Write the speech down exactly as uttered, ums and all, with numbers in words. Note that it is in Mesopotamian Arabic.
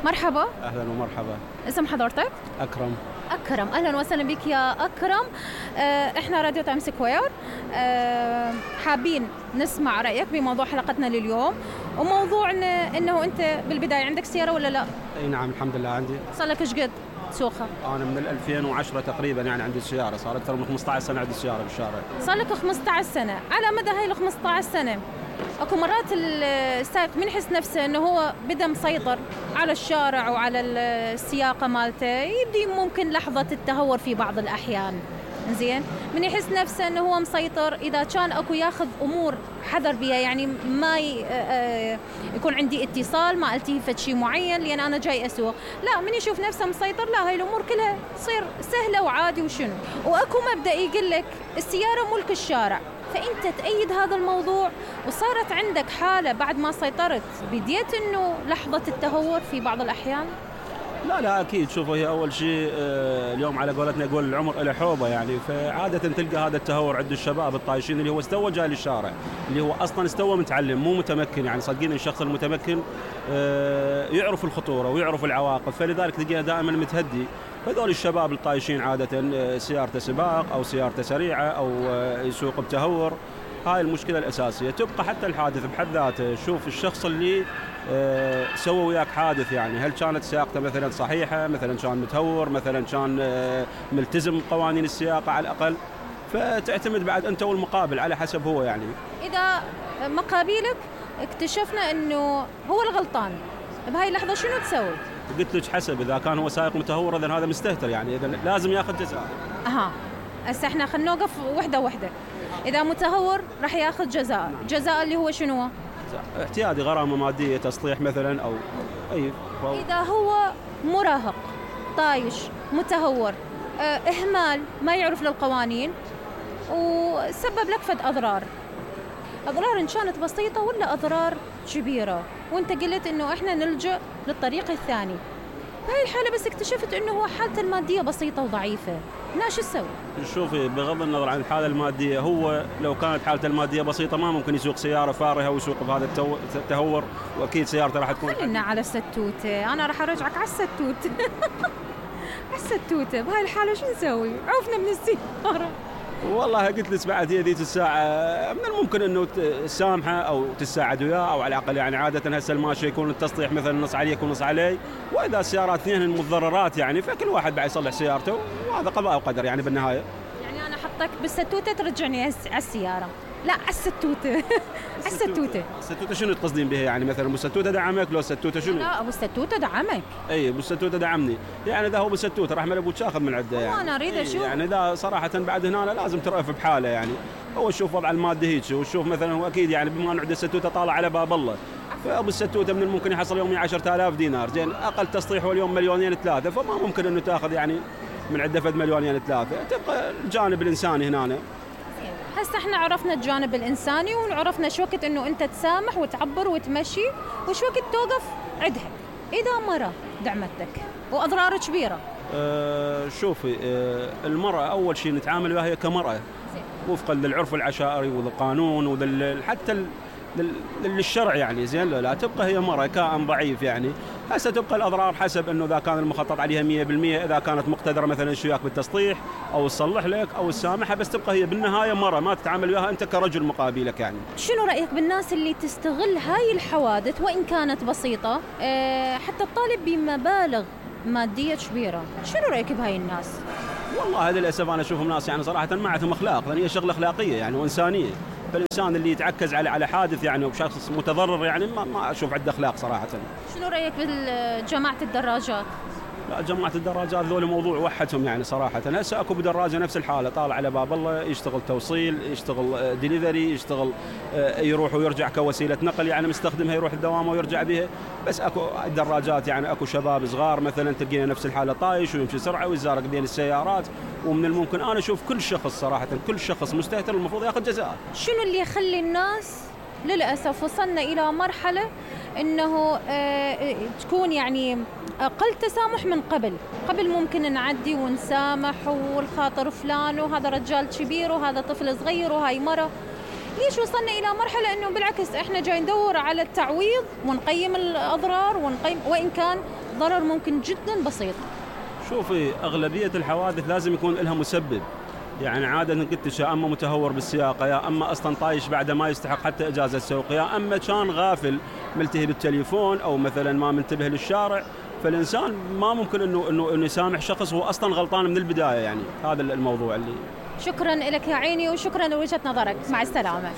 مرحبا. أهلا ومرحبا. اسم حضرتك؟ أكرم. أكرم، أهلا وسهلا بك يا أكرم. آه، إحنا راديو تايم سكوير، آه، حابين نسمع رأيك بموضوع حلقتنا لليوم، وموضوعنا إنه أنت بالبداية عندك سيارة ولا لا؟ أي نعم الحمد لله عندي. صار لك إيش قد تسوقها؟ أنا من ألفين وعشرة تقريبا يعني عندي السيارة، صار أكثر من خمسة عشر سنة عندي السيارة بالشارع. صار لك خمسة عشر سنة، على مدى هاي ال خمسة عشر سنة اكو مرات السائق من يحس نفسه انه هو بدا مسيطر على الشارع وعلى السياقه مالته، يبدي ممكن لحظه التهور في بعض الاحيان. زين، من يحس نفسه انه هو مسيطر اذا كان اكو ياخذ امور حذر بها، يعني ما يكون عندي اتصال، ما التفت شيء معين لان انا جاي اسوق، لا من يشوف نفسه مسيطر لا هاي الامور كلها تصير سهله وعادي وشنو. واكو مبدا يقول لك السياره ملك الشارع، فأنت تأيد هذا الموضوع وصارت عندك حالة بعد ما سيطرت بديت إنه لحظة التهور في بعض الأحيان؟ لا لا أكيد. شوفوا هي أول شيء اليوم على قولتنا يقول العمر إلى حوبة، يعني فعادة تلقى هذا التهور عند الشباب الطايشين اللي هو استوى جاي للشارع، اللي هو أصلا استوى متعلم مو متمكن. يعني صدقين الشخص المتمكن يعرف الخطورة ويعرف العواقب، فلذلك تلقيه دائما متهدي. هذول الشباب الطايشين عادة سيارته سباق أو سيارته سريعة أو يسوق بتهور، هاي المشكلة الأساسية. تبقى حتى الحادث بحد ذاته، شوف الشخص اللي سوى وياك حادث، يعني هل كانت سياقته مثلا صحيحة، مثلا كان متهور، مثلا كان ملتزم بقوانين السياقة على الأقل، فتعتمد بعد أنت والمقابل على حسب هو. يعني إذا مقابلك اكتشفنا أنه هو الغلطان بهاي اللحظة شنو تسوي؟ قلت لك حسب، إذا كان هو سائق متهور إذن هذا مستهتر، يعني إذا لازم ياخذ جزاء. أها، هسه إحنا خلينا نوقف وحدة وحدة. إذا متهور راح ياخذ جزاء، جزاء اللي هو شنو؟ احتياطي، غرامة مادية، تصليح مثلا أو أي. إذا هو مراهق طايش متهور، اه إهمال، ما يعرف للقوانين وسبب لك فد أضرار، أضرار إن كانت بسيطة ولا أضرار كبيرة، وأنت قلت إنه إحنا نلجأ للطريق الثاني، بهاي الحالة بس اكتشفت إنه هو حالته المادية بسيطة وضعيفة، لا شو تسوي؟ شوفي بغض النظر عن الحالة المادية، هو لو كانت حالته المادية بسيطة ما ممكن يسوق سيارة فارهة ويسوق بهذا التهور، وأكيد سيارته راح تكون. خلينا على الستوتة، أنا راح أرجعك على الستوتة. على الستوتة بهاي الحالة شو نسوي؟ عوفنا من السيارة. والله قلت لك بعد هي ذيك الساعة من الممكن انه تسامحه او تساعد وياه، او على الاقل يعني عادة هسه الماشي يكون التصليح مثلا نص عليك ونص علي، واذا السيارات اثنين متضررات يعني فكل واحد بعد يصلح سيارته، وهذا قضاء وقدر يعني بالنهاية. يعني انا احطك بالستوتة ترجعني على السيارة؟ لا على الستوتة. على الستوتة. الستوتة شنو تقصدين بها؟ يعني مثلا ابو الستوتة دعمك لو الستوتة شنو؟ لا ابو الستوتة دعمك. اي ابو الستوتة دعمني، يعني اذا هو بالستوتة راح ابو تاخذ من عده يعني. انا اريد اشوف يعني اذا صراحة بعد هنا لازم ترأف بحاله، يعني هو شوف وضع المادي هيك، وشوف مثلا هو اكيد يعني بما انه عنده الستوتة طالع على باب الله، فابو الستوتة من الممكن يحصل يومي عشرة آلاف دينار، زين اقل تصليح هو اليوم مليونين ثلاثة، فما ممكن انه تاخذ يعني من عده فد مليونين ثلاثة، تبقى الجانب الانساني هنا. هسه احنا عرفنا الجانب الانساني وعرفنا شو وقت انه انت تسامح وتعبر وتمشي، وش وقت توقف عدها اذا مرة دعمتك واضرار كبيرة. أه شوفي، أه المرأة اول شيء نتعامل وياها هي كمرأة وفقا للعرف العشائري والقانون وحتى حتى للشرع، يعني زين لا تبقى هي مرأة كائن ضعيف، يعني هسه تبقى الأضرار حسب إنه إذا كان المخطط عليها مية بالمية، إذا كانت مقتدرة مثلا شوياك بالتصليح أو تصلح لك أو تسامحها، بس تبقى هي بالنهاية مرة ما تتعامل وياها أنت كرجل مقابلك. يعني شنو رأيك بالناس اللي تستغل هاي الحوادث وإن كانت بسيطة أه حتى تطالب بمبالغ مادية كبيرة؟ شنو رأيك بهاي الناس؟ والله للأسف أنا أشوفهم ناس يعني صراحة ما عندهم أخلاق، لأن هي شغلة أخلاقية يعني وإنسانية، فالإنسان اللي يتعكز على على حادث يعني وشخص متضرر يعني ما, ما أشوف عنده أخلاق صراحة. شنو رأيك بجماعة الدراجات؟ لا جماعة الدراجات ذول موضوع وحدهم يعني صراحة. هسه اكو بدراجة نفس الحالة طالع على باب الله، يشتغل توصيل، يشتغل ديليفري، يشتغل يروح ويرجع كوسيلة نقل، يعني مستخدمها يروح الدوام ويرجع بها. بس اكو الدراجات يعني اكو شباب صغار مثلا تلقينا نفس الحالة طايش ويمشي سرعة ويزارق بين السيارات، ومن الممكن انا اشوف كل شخص صراحة كل شخص مستهتر المفروض ياخذ جزاء. شنو اللي يخلي الناس للأسف وصلنا إلى مرحلة إنه آه تكون يعني أقل تسامح من قبل قبل ممكن نعدي ونسامح والخاطر فلان وهذا رجال كبير وهذا طفل صغير وهاي مرة، ليش وصلنا إلى مرحلة إنه بالعكس إحنا جاي ندور على التعويض ونقيم الأضرار ونقيم، وإن كان ضرر ممكن جدا بسيط. شوفي اغلبيه الحوادث لازم يكون لها مسبب، يعني عاده قلت يا اما متهور بالسياقه، يا اما اصلا طايش بعد ما يستحق حتى اجازه سوق، يا اما كان غافل ملتهي بالتليفون او مثلا ما منتبه للشارع. فالانسان ما ممكن انه انه انه يسامح شخص هو اصلا غلطان من البدايه، يعني هذا الموضوع اللي. شكرا لك يا عيني وشكرا لوجهه نظرك، مع السلامه.